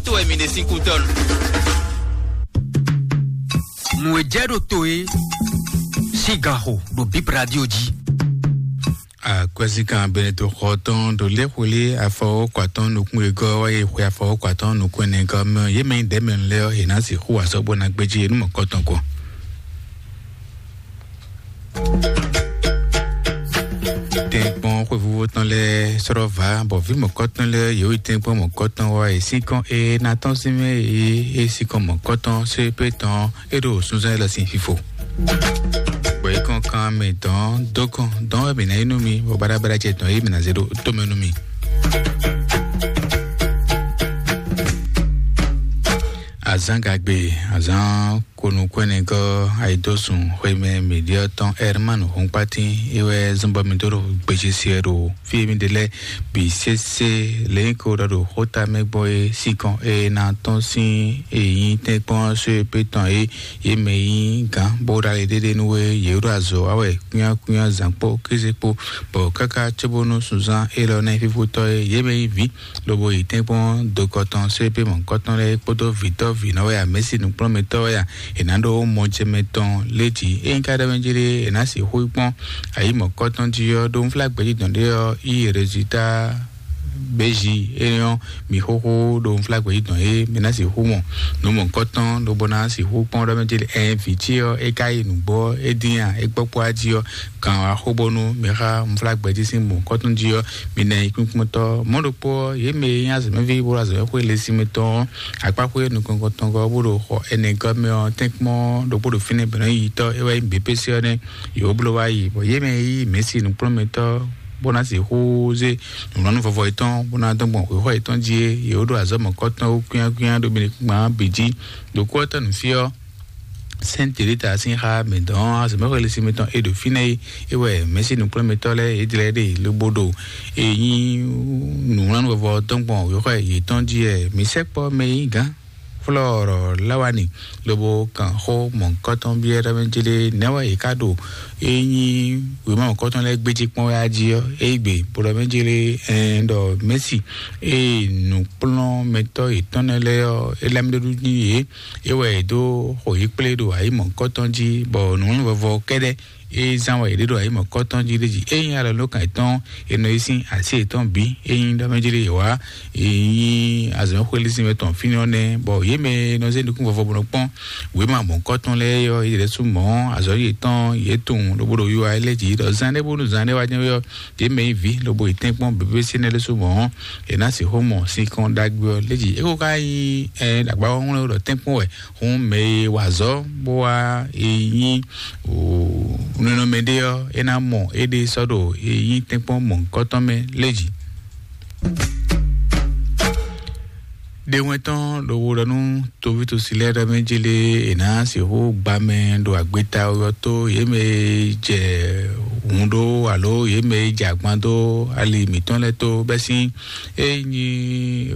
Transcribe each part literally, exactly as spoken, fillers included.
To wɛ mi ɖe sín kútɔ́ nu. Nǔ e jɛ ɖo to e sín gan xo ɖo Bib Radio jí. Akwɛ́síkan Benedikto xɔ tɔn ɖo léxwelé afɔwɔ́kɔ atɔn nukún e gɔ́ wá yi xwe afɔwɔ́kɔ atɔn nukún ɛnɛ gɔ́ mɛ yě mɛ nyí ɖɛ̌mɛnu lɛ́ɛ ɔ́, yě ná sixú wǎ sɔ́ bó ná gbéjé nú mɔ̌kɔtɔn kɔ. Tɛ́nkpɔ́n xwévúvú tɔn lɛ́ɛ sɔ́ vǎ, bɔ vǐ mɔ̌kɔtɔn lɛ́ɛ yě yi tɛ́nkpɔ́n mɔ̌kɔtɔn wá yi sínkɔ́n e ná tɔ́n sín mɛ e é sínkɔ́n mɔ̌kɔtɔn só é pé tɔn é ɖo sunnzɔ́n élɔ́ sín fífo. Bɔ é kɔn kan mɛ dɔn dó kɔn dɔn wɛ mǐ ná yi nú mi, bɔ baɖabaɖa ce tɔn é mǐ ná zé ɖó tó mɛ nú mi. Azǎn gagbe, azǎn konukúnɛgɔ́ ayidósun xwemɛ mǐɖyɔ́ tɔn Herman Hunkpatin é wɛ zɔ́n bɔ mì dó ɖo gbéjé se wɛ ɖo fí e mì ɖe lɛ́ɛ bǐ sésé. Lě nyí ko ɖɔ ɖo xóta mɛ gbɔn é sinkɔn e ná tɔ́n sín e nyí tɛ́nkpɔ́n só e pé tɔn é yě mɛ nyí gǎn bó ɖo ali ɖéɖé nú é yě ɖo azɔ̌ wa wɛ kúnyákúnyá zǎn kpó kéze kpó, bɔ káká cóbónú sunzán élɔ́ ná nyí fífótɔ́ é yě mɛ nyí vǐ lobo yi tɛ́nkpɔ́n dokɔ tɔn só é pé mɔ̌kɔtɔn lɛ́ɛ kpódó vǐtɔ́ vǐnɔ wɛ a mɛ̌si nǔkplɔ́nmɛtɔ́ wɛ a è nǎ ɖó mɔjɛmɛ tɔn lé jǐ. Ényí ka ɖɔ mɛ jí ɖé è nǎ sixú yi kpɔ́n ayǐ mɔ̌kɔtɔn jí ɔ́, ɖó unflágbɛ́ jí dɔn ɖé ɔ́, yí rezultá béji énɛ́ ɔ́, mi xóxó ɖo unflágbɛ́ jí dɔn é mi ná sixú mɔ nǔ mɔ̌kɔtɔn lobo ná sixú kpɔ́n ɖɔ mɛ jí ɖé. Ɛn vǐ cí ɔ́, é ka yi nǔgbó ɔ́, é dín a é gbɔ́ kpó á jí ɔ́, kan wá xó bónú mi xá unflágbɛ́ jí sín mɔ̌kɔtɔn jí ɔ́, mi ná yi kpínkpɔ́ntɔ́. Mɔ̌ ɖokpó ɔ́, yě mɛ e nyí azɔ̌mɛví bó ɖo azɔ̌mɛxwé lé sín mɛ tɔn ɔ́, akpáxwé nukɔn tɔn gɔ́ bó ɖo xɔ ɛnɛ gɔ́ mɛ ɔ́, tɛ́nkpɔ́n ɖokpó ɖo fínɛ́ bɛ̌ nɔ yi tɔ́ é wɛ nyí běpése ɔ́ nɛ́. Yě wó bló wá yi, bɔ yě mɛ e yí mɛ̌si nǔkplɔ́nmɛtɔ́ bó ná sixú zé nǔlɔ́nú vɔvɔ yětɔn bó ná dɔn gbɔn xwexɔ yětɔn jí é, yě wó ɖo azɔ̌ mɔ̌kɔtɔn wú kwíánkwíán ɖo mɛ kpán bǐ jí. Ɖo kú ɔ́ tɔn nǔ fí ɔ́, Sɛ́n Telita sín xá mɛ dɔn azɔ̌mɛxwé lé sín mɛ tɔn e ɖo fínɛ́ é, é wɛ mɛ̌si nǔkplɔ́nmɛtɔ́ lɛ́ɛ yě jlɛ́ ɖe lobo ɖo e nyí nǔwlánú vɔvɔ tɔn gbɔn wěxɔ yětɔn jí wɛ. Mǐ sɛkpɔ́ mɛ e nyí gǎn Flɔ́ɔrɔ Lawani lobo kan xó mɔ̌hunkɔtɔn byɔ́ ɖɔ mɛ jlé nɛ̌ wɛ yě ká ɖo e nyí wěma mɔ̌hunkɔtɔn lɛ́ɛ gbéjé kpɔ́n wɛ á jí ɔ́, é gbe bó ɖɔ mɛ jlé ɛn ɖɔ Mɛ̌si e nǔkplɔ́nmɛtɔ́ yětɔn nɛ́ lɛ́ɛ ɔ́, é lá mì ɖó nú yě. É wɛ è dó xo yě kplé ɖo ayǐ mɔ̌hunkɔtɔn jí, bɔ nǔwlánú vɔvɔ kɛ́ɖɛ́ é zán wɛ è ɖe ɖo ayǐ mɔ̌kɔtɔn jí ɖé jí. Ényí alɔ̌nlókan yětɔn è nɔ yi sín así yětɔn bǐ, ényí ɖɔ mɛ jí ɖé yě wá, ényí azɔ̌mɛxwé lí sín mɛ tɔn fínɛ́ ɔ́ nɛ́, bɔ yě mɛ e nɔ zé nukún vɔvɔ bó nɔ kpɔ́n wěma mɔ̌kɔtɔn lɛ́ɛ ɔ́, yě ɖě sú mɔ̌ azɔ̌ yětɔn yě tunwun lobo ɖo wiwa lɛ́ jí ɖɔ zán ɖé bónú zán ɖé wá jɛ́n ɔ́, yě mɛ yi vǐ lobo yi tɛ́nkpɔ́n běbé sínɛ́ lɛ́ sú mɔ̌, è nǎ sixú mɔ sinkɔn ɖagbe ɔ́ lɛ́ jí. É ko ka nyí ɛ ɖagba ɔ́ ŋlɔ́ ɖɔ tɛ́nkpɔ́n wɛ. Hǔn mɛ e wa azɔ̌ bó wá e nyí nɔnɔmɛ ɖé ɔ́, é ná mɔ éɖée sɔ́ ɖo e nyí tɛ́nkpɔ́n mɔ̌hunkɔtɔn mɛ lé jí. Ɖé wɛn tɔn ɖo wo ɖɔ nú toví tosi lɛ́ɛ ɖɔ mɛ jí lé, è nǎ sixú gba mɛ ɖo agbeta ɔ́ tó, yě mɛ e jɛ hun ɖó alo yě mɛ e jɛ agban dó ali mǐtɔn lɛ́ɛ tó bɛ́ sín é nyí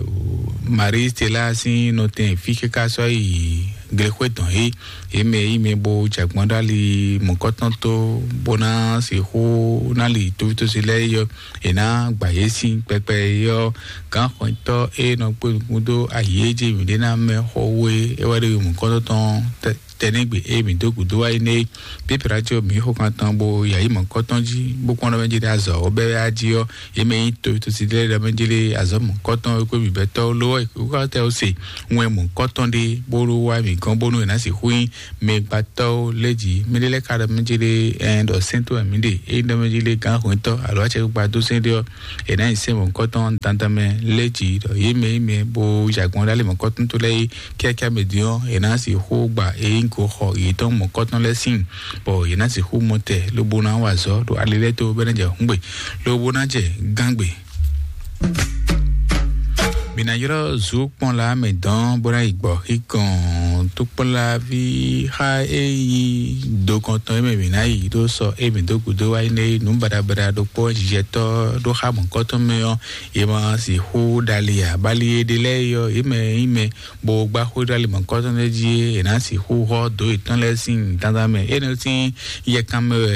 Marie Stella sín nɔtɛn fí káká sɔ́ yi glexwé tɔn é. Yě mɛ yí mɛ bó jɛ agbɔ́n ɖó ali mɔ̌kɔtɔn tó bó ná sixú ná li toví tosi lɛ́ɛ yɔ, è nǎ gba yě sín kpɛkpɛ yɔ. Gǎnxɔntɔ́ e nɔ kpé nukún dó ayǐ e jí mǐɖé ná mɛ xɔ wú é, é wɛ ɖo yi mɔ̌kɔtɔn tɔn tɛnɛ́gbe e mǐ dó gǔdo wá yi nɛ́ é. Pépéra cí ɔ́, mǐ xo kan tɔn bó yi ayǐ mɔ̌kɔtɔn jí, bó kpɔ́n ɖɔ mɛ jí ɖé azɔ̌ ɔ́ bɛ́ wɛ á jí ɔ́, yě mɛ nyí to to si lɛ́ɛ ɖɔ mɛ jí lé azɔ̌ mɔ̌kɔtɔn e kó mǐ bɛ́ tɔ́ ló wɛ kó tɛ ó se wɛn mɔ̌kɔtɔn ɖé bó ɖó wá mǐ gɔ́n bónú è nǎ sixú nyí mɛgbátɔ́ lɛ́ jí. Mɛ ɖé lɛ́ɛ ka ɖɔ mɛ jí lé ɛn ɖɔ sɛ́n tó wɛ mǐ ɖe, é nyí ɖɔ mɛ jí lé gǎn hwɛntɔ́ alo acɛkpikpa dó sɛ́n ɖé ɔ́, è nǎ nyi sɛ́n mɔ̌kɔtɔn dandan mɛ lɛ́ jí ɖɔ yě mɛ yí mɛ bó yi agbɔ́n ɖó alɛ mɔ̌kɔtɔn tó lɛ́ɛ é. Kíákíá mɛ din ɔ́, è nǎ sixú gba e nyí goxɔ yětɔn mɔ̌kɔtɔn lɛ́ɛ sín, bɔ yě ná sixú mɔ tɛ lobo ná wa azɔ̌ ɖo ali lɛ́ɛ tó bɔ é ná jɛ hǔngbe lobo ná jɛ gángbe. Mǐ ná ylɔ́ zǔ kpɔ́nla mɛ dɔn bó ná yi gbɔ xíkɔn Tukpɔ́láví xa e nyí dokɔntɔn e mɛ mǐ ná yi ɖó sɔ e mǐ dó gǔdo wá yi nɛ nǔ baɖabaɖa ɖokpó jijɛtɔ́ ɖó xa mɔ̌kɔtɔn mɛ ɔ́, è ma sixú ɖali ǎ. Bali e ɖe lɛ́ɛ é ɔ́, yě mɛ e nyí mɛ bó gbá xwé ɖó ali mɔ̌kɔtɔn lɛ́ɛ jí é, è nǎ sixú xɔ dǒ yětɔn lɛ́ɛ sín dandan mɛ. Énɛ́ sín yɛkan mɛ wɛ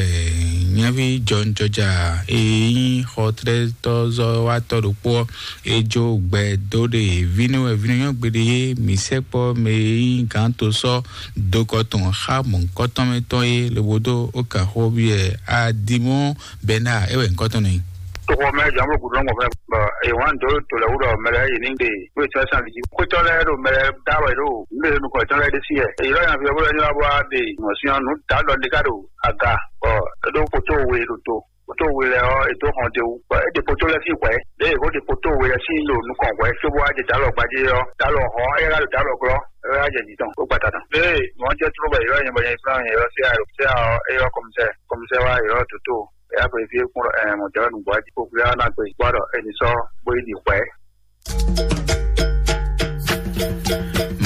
nyaví jɔnjɔja e nyí xɔtlɛ́tɔ́zɔ́watɔ́ ɖokpó ɔ́, é jó gbɛ dó ɖe vínú wɛ vínú nyɔ́ gbeɖé é, mǐ sɛkpɔ́ mɛ e nyí gǎn to sɔ́ dokɔ tɔn xá mɔ̌kɔtɔn mɛ tɔn é, lobo dó ó kan xó byɔ́ ɛ, Adimɔ́ Bɛnáa é wɛ nyǐkɔ tɔn n'i. Toxo mɛ jǎn bó gǔdo lɔ́mɔ fɛ́ bɔ è wǎn dó to lɛ́ɛ wú ɖɔ mɛ lɛ́ɛ yě ní ɖe wé tɔ́ sán jí. Xwétɔ́ lɛ́ɛ ɖo mɛ lɛ́ɛ dá wɛ ɖo nǔ ɖe nukɔn tɔn lɛ́ɛ ɖésú yɛ. Èyí lɔ nyaví ɔ́ bó lɛ́ ní wá bó wá ɖe mɔ̌ sín ɔ́, nǔ dǎ ɖɔ ɖé ká ɖo aga bɔ é ɖó poto we ɖo to. Poto we lɛ́ɛ ɔ́, è dó hɔn d'é wú. Bɔ é ɖe poto lɛ́ɛ sín hwɛ̌. Lě e è ko ɖe poto we lɛ́ɛ sín ɖo nukɔn hwɛ̌ cóbó wá jɛ dǎlɔ gbadé ɔ́, dǎlɔ hɔn ɔ́, é ká ɖo dǎlɔ glɔ́, é wá jɛ jǐ tɔn, bó gbata tɔn. Lě e nǔ ɔ́ jɛ tló bɔ è ylɔ́ nyɛ bɔ nyɛ yi flán nyɛ ylɔ́ C I A, C I A ɔ́, é ylɔ́ kɔmísɛ́, kɔmísɛ́ wá ylɔ́ dǒtó. É yá xweyǐgbe kún ɖɔ ɛɛ mɔ̌ jɛ wɛ nǔgbó jí kókó yá ná gbe gbɔ ɖɔ è nǐ sɔ́ bó yi ɖi hwɛ̌.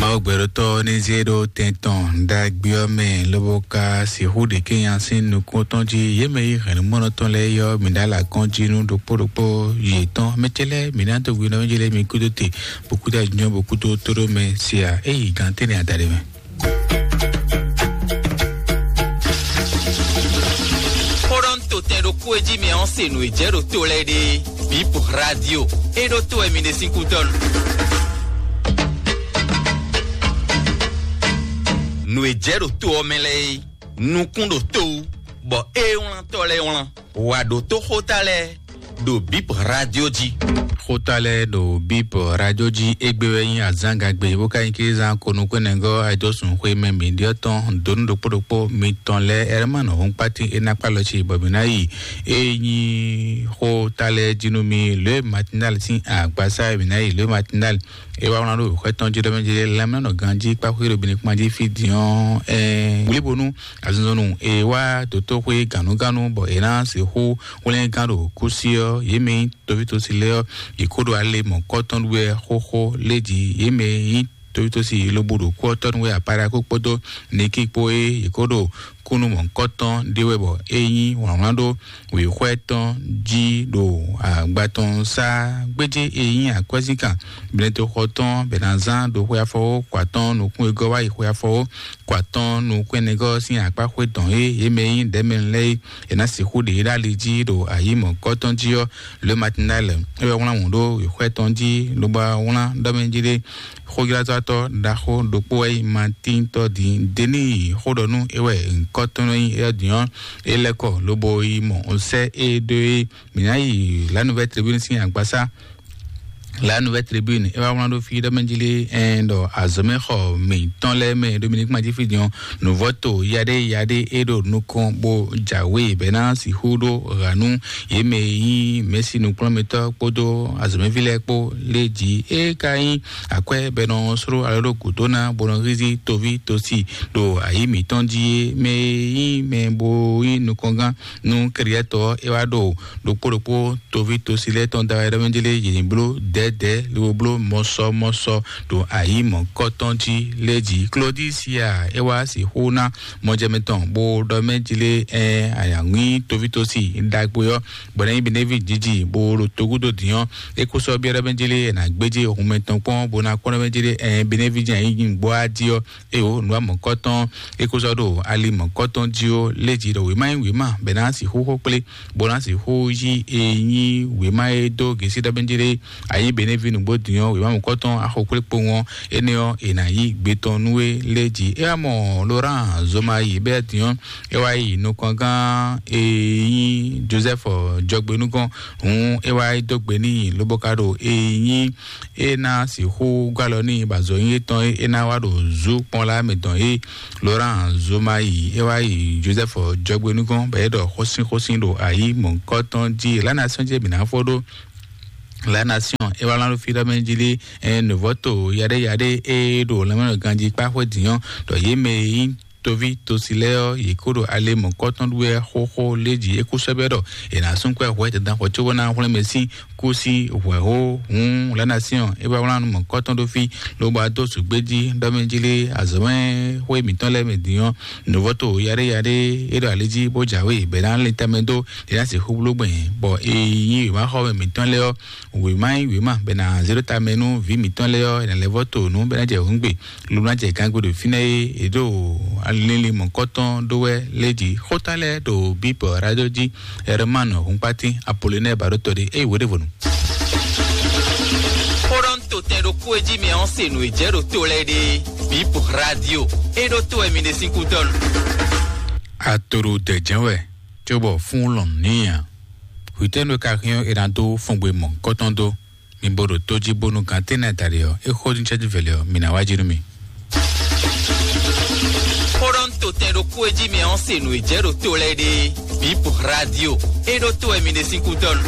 Mawu gbɛɖotɔ́ ní zé ɖó tɛn tɔn ɖagbe ɔ́ mɛ, lobo ka sixú ɖe kénya sín nukún tɔn jí. Yě mɛ yí hɛ̌nnumɔ́nɔ tɔn lɛ́ɛ yɔ́ mǐ ɖó alakɔ́n jí nú ɖokpó ɖokpó yětɔn. Mɛ ce lɛ́ɛ mǐ ná dó gbe nɔ jí lɛ́ɛ mi kúdó te, bó kúdó ajínjɔ́n, bó kúdó tóɖó mɛ sia. É yi gǎn tɛ́nɛ adaɖé mɛ. Xó ɖɔ un to tɛn ɖokpó e jí mɛ ɔ́ se nǔ e jɛ ɖo to lɛ́ɛ ɖe. Bip Radio, é ɖó to wɛ mi ɖe sín kútɔ́ nu. Nǔ e jɛ ɖo to ɔ́ mɛ lɛ́ɛ é, nukún ɖo to wú, bɔ é wlán tɔ́ lɛ́ɛ wlán. Wǎ ɖótó xóta lɛ́ɛ ɖo Bip Radio jí. Xóta lɛ́ɛ ɖo Bip Radio jí égbé wɛ nyí azǎngagbe, bó ka nyí kézán konukúnɛngɔ́ ayidɔ́sùn xwé mɛ mǐ ɖyɔ́ tɔn dǒnú ɖokpó ɖokpó mitɔn lɛ́ɛ. Ɛrɛ́ ma nɔ hún kpátín é ná kpá lɔ ci bɔ mǐ ná yi. É nyí xóta lɛ́ɛ jí nú mi lě matinal sín agbasá e mǐ ná yi lě matinal. É wá wlán ɖó xwɛ tɔn jí ɖɔ mɛ jí lɛ́mlɛ́nɔ ganjí kpáxwé ɖo bǐní kpán jí fí din ɔ́, ɛɛ wlíbonú azinzɔnnu e wá dǒtóxwé gǎnugǎnu bɔ è ná sixú hwlɛ́ngán ɖo kúsí ɔ́, yě mɛ nyí tovítɔ́sí lɛ́ɛ ɔ́, yě kó ɖo ale mɔ̌kɔ́tɔn wɛ xóxó lé jí. Yě mɛ nyí tovítɔ́sí lobo ɖo kú ɔ́ tɔ́ nú wɛ apáɖakú kpódó nikí kpó é yě kó ɖo kúnnu mɔ̌kɔ́tɔn ɖé wɛ bɔ é nyí wlǎnwlán ɖó wěxwɛ́ tɔn jí ɖo agba tɔn sá gbéjé e nyí akwɛ́zínkan blɛ́ntoxɔ tɔn bɛ̌ ná zán ɖo xwe afɔwó kɔ atɔ́ɔ́n nukún e gɔ́ wá yi xwe afɔwó kɔ atɔ́ɔ́n nukún ɛnɛgɔ́ sín akpá xwé dɔn é yě mɛ e nyí ɖɛ̌mɛnu lɛ́ɛ é, è nǎ sixú ɖe yě ɖó ali jí ɖo ayǐ mɔ̌kɔ́tɔn jí ɔ́, Le Matinal é wɛ wlán wǔ ɖó wěxwɛ́ tɔn jí lobo wá wlán ɖɔ mɛ jí ɖé. Xójlázɔ́tɔ́ ɖaxó ɖokpó wɛ nyí Matíntɔ́ din Deníi xó ɖɔ nú é wɛ nyǐkɔ tɔn nɔ nyí éyɔ́ din ɔ́, é lɛ́ kɔ lobo yi mɔ sɛ́ é ɖó é. Mǐ ná yi La Nouvelle Tribune sín agbasá. La Nouvelle Tribune é wá wlán ɖó fí ɖɔ mɛ jí lé ɛn ɖɔ azɔ̌mɛxɔ mǐtɔn lɛ́ɛ mɛ Dominique Madjifidjan nǔvɔ́to yaɖé yaɖé é ɖo nukɔn bó jǎwe bɛ́ ná sixú ɖó ɣa nú yě mɛ e nyí mɛ̌si nukplɔ́nmɛtɔ́ kpódó azɔ̌mɛví lɛ́ɛ kpó lé jí. É ka nyí akwɛ́ bɔ è nɔ sló alɔ ɖó gǔdo ná bó nɔ hízí toví tosi ɖo ayǐ mǐtɔn jí é. Mɛ e nyí mɛ bó nyí nukɔngán nú kɛɖyɛ́tɔ́ ɔ́, é wá ɖo ɖokpó ɖokpó toví tosi lɛ́ɛ tɔn da wɛ ɖɔ mɛ jí lé yě ní bló dɛ̌dɛ̌ lobo bló mɔsɔmɔsɔ ɖo ayǐ mɔ̌kɔtɔn jí lé jí. Klodisia é wá sixú ná mɔjɛmɛ tɔn bó ɖɔ mɛ jí lé ɛn ayǎŋwí toví tosi ɖagbe ɔ́ bɔ ná nyí Benevi jiji bó ɖo togúdo dǐn ɔ́, é kó sɔ́ byɔ́ ɖɔ mɛ jí lé ɛ nǎ gbéjé hun mɛtɔn kpɔ́n bó ná kpɔ́n ɖɔ mɛ jí lé ɛn Benevi jɛ nyí gbɔ́ á jí ɔ́. Eye wò nǔ amɔ̌kɔ́tɔn é kó sɔ́ ɖo ali mɔ̌kɔ́tɔn jí ó lé jí ɖɔ wěma nyí wěma bɔ è ná sixú xó kplé bó ná sixú yí e nyí wěma e dó gěsí ɖɔ mɛ jí lé ayí Benevi nǔgbó dǐn ɔ́, wěma mɔ̌kɔ́tɔn axo kplé kpowun ɔ́, énɛ́ ɔ́ è nǎ yí gbe tɔn nú é lé jí. É wá mɔ Laurent Zoma yi bɛ́ dǐn ɔ́, é wá yi nukɔngán e nyí Joseph Jɔgbenúgɔ́n hǔn é wá yi dó gbe n'i lobo ka ɖo e nyí é ná sixú gɔ́ alɔ n'i bɔ azɔ̌ nyí étɔn é é ná wá ɖo zú kpɔ́n lá mɛ dɔn é. Laurent Zoma yi é wá yi Joseph Jɔgbenúgɔ́n bɔ é ɖɔ xósínxósín ɖo ayí mɔ̌kɔ́tɔn jí La Nation jí mǐ ná fɔ ɖó. La Nation é wá lán ɖó fí ɖɔ mɛ jí lé ɛ nǔvɔ́to yaɖé yaɖé é ɖo lanmɛnɔ ganjí kpá xwé dǐn ɔ́ ɖɔ yě mɛ e nyí Toví tosi lɛ́ɛ ɔ́, yě kó ɖo ale mɔ̌kɔtɔn ɖu wɛ xóxó lé jí é kú sɛ́ bɛ́ ɖɔ è nǎ sún kwɛ́ hwɛ dandan xɔ cóbó ná hwlɛ́n mɛ sín kú sí hwɛ̌xó hǔn lánasíɔn é wá wlán nú mɔ̌kɔtɔn ɖó fí, lobo adó sǔgbé jí ɖɔ mɛ jí lé azɔ̌mɛ xwé mǐtɔn lɛ́ɛ mɛ din ɔ́, nǔvɔ́to yaɖé yaɖé é ɖo ali jí bó jǎwe bɛ̌ ná lin tɛnmɛ dó ɖě ná sixú bló gbɛn, bɔ è nyí wěmaxɔmɛ mǐtɔn lɛ́ɛ ɔ́, wěma nyí wěma bɛ ná zé ɖó tamɛ nú vǐ mǐtɔn lɛ́ɛ ɔ́, è nǎ lɛ́ vɔ́ to nǔ bɛ ná jɛ hǔngbe, lobo ná jɛ gangbe ɖo fínɛ́ é è ɖo linlin mɔ̌kɔtɔn ɖó wɛ lé jí. Xóta lɛ́ɛ ɖo bíbɔ radio jí. Herman Hunkpatin Apollinaire Baɖótɔɖé é wǒ ɖěvo nu. Xóɖɔ́ntotɛn ɖokpó e jí mi ɔ́ se nǔ e jɛ ɖo to lɛ́ɛ ɖe. Bíbɔ radio é ɖó to wɛ mi ɖe sín kútɔ́nu. Atoro dɛjɛn wɛ, cóbɔ fún lɔn níyà. Hwitɛnu ka hɛn ɔ́ è nǎ dó fɔngbe mɔ̌kɔtɔn dó. Mi bo ɖo tó jí bónú gantɛ́nɛ daɖé ɔ́, é xó ní cɛ́jú vɛlɛ ɔ́, mi ná wá jí nú mi. Xóɖɔ́ntotɛn ɖokpó e jí mi ɔ́ se nǔ e jɛ ɖo to lɛ́ɛ ɖe. Bíbɔ radio é ɖó to wɛ mi ɖe sín kútɔ́nu.